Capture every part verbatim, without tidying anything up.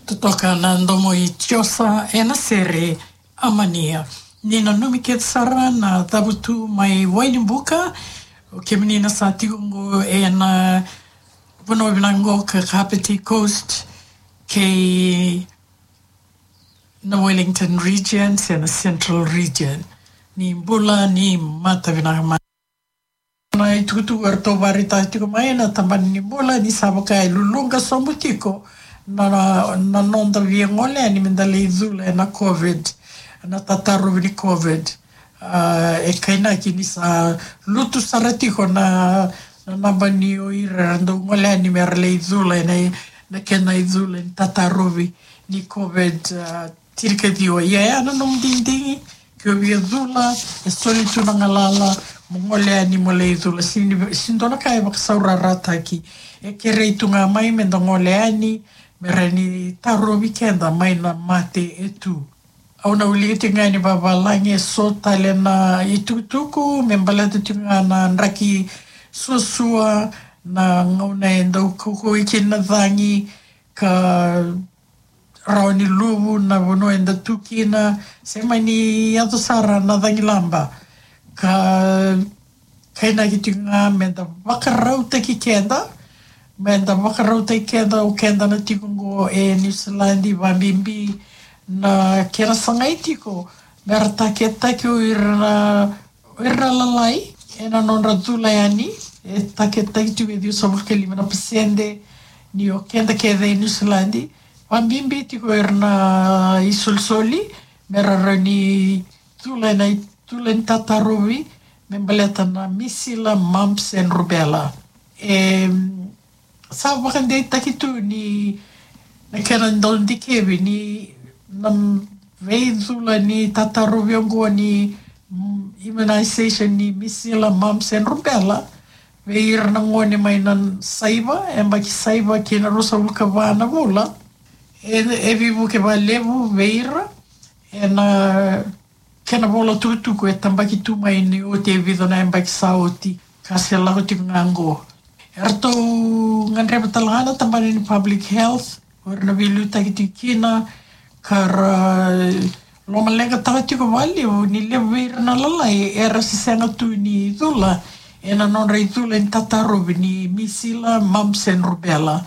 Totoka na domo i Josa ena sere Amania. Ni nanumi kece sara na cavutu mai Wainibuka, o kemuni na sa tiko qo ena vanua vinaka qo ka Kapiti Coast, kei na Wellington Region, se na Central Region. Ni bula, ni mata vinaka mai. Na itukutuku eratou vakaraitaka tiko mai na tabana ni bula ni sa vaka e luluqa sobu tiko na, na, na noda via gole yani meda lai cula ena COVID, na tatarovi ni COVID. Ah, e kainaki ni sa lutu sara tiko na, na naba ni o ira era dau gole yani mera lai cula ena, na kena icula ni tatarovi ni COVID, ah, tirikaciwa. Ia, ia na nomu digidigi, ke o via cula, e soli tu na galala mo gole yani mo lai cula. Sini, sini dua na ka e vakasaurarataki. E kerei tu ga mai meda gole yani, mera ni tarovi keda mai na mate e tu. Au na wilika tiko ga ni vavalagi e so tale na itukutuku me baleta tiko ga na draki suasua, na gauna e dau kaukauwa kina na cagi, ka rawa ni luvu na vanua eda tu kina, se mani yaco sara na cagilaba. Ka kainaki tiko ga meda vakarautaki keda, meda vakarautaki keda, o keda na tiko qo e Niusiladi, vabibi na kena sagai tiko mera taketaki o ira na, o ira na lalai ena nodra cula yani. E taketaki tiko e ciwasagavulu ka lima na pasede ni o keda kece e Niusiladi, vabibi tiko o ira na isolisoli, mera rawa ni cula ena icula ni tatarovi me baleta na misila, mumps and rubella. E sa vakadeitaki tu ni na kena dau dikevi ni na veicula ni tatarovi oqo ni, mm, immunization ni misila, mumps and rubella vei ira na gone mai na saiva, yabaki saiva ki na ruasagavulu ka va na vula. E, e veivuke vakalevu vei ira ena kena vola tukutuku e tabaki tu mai ni oti e vica na yabaki sa oti, ka se lako tiko ga qo. Eratou gadreva tale ga na tabana ni public health, o ira na veiliutaki tiko kina, ka ra lomaleqataka tiko vakalevu ni levu vei ira na lalai era se sega tu ni cula ena nodra icula ni tatarovi ni misila, mumps and rubella.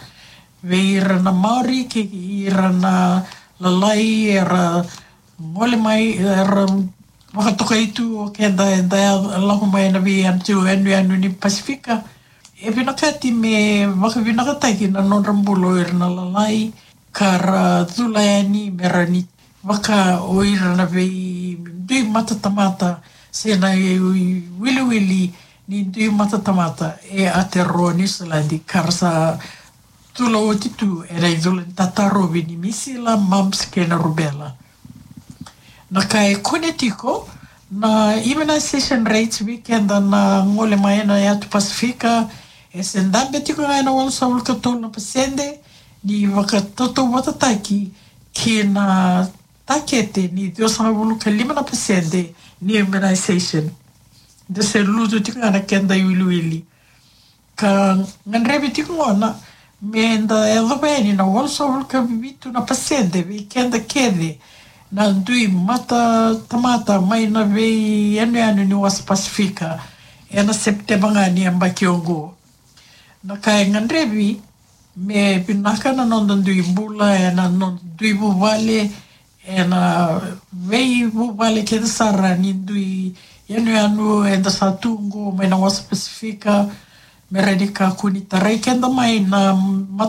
Vei ira na Maori kei ira na lalai era gole mai, era vakatokai tu o keda eda lako mai na veiyanuyanu ni Pasifika. E vinakati me vakavinakataki na nodra bula o ira na lalai, ka ra cula yani mera ni vaka o ira na veidui matatamata se na iwiliwili ni dui matatamata e Aotearoa Niusiladi, ka ra sa cula oti tu ena icula ni tatarovi ni misila, mumps kei na rubella. Na ka e kune tiko na immunization rates vei keda na gole mai na yatu Pasifika, e se dabe tiko ga ena walusagavulu ka tolu na pasede ni vakatautauvatataki ki na takete ni ciwasagavulu ka lima na pasede ni immunization. Da se lutu tiko ga na keda iwiliwili. Ka gadrevi tiko gona meda yacova yani na walusagavulu ka vitu na pasede vei keda kece na dui matatamata mai na veiyanuyanu ni wasa Pasifika ena Sepiteba ga ni yabaki oqo. Na ka e gadrevi me vinaka na noda dui bula ena noda dui vuvale, ena veivuvale kece sara ni dui yanuyanu eda sa tu qo mai na wasa Pasifika, me rawa ni kakua ni tarai keda mai na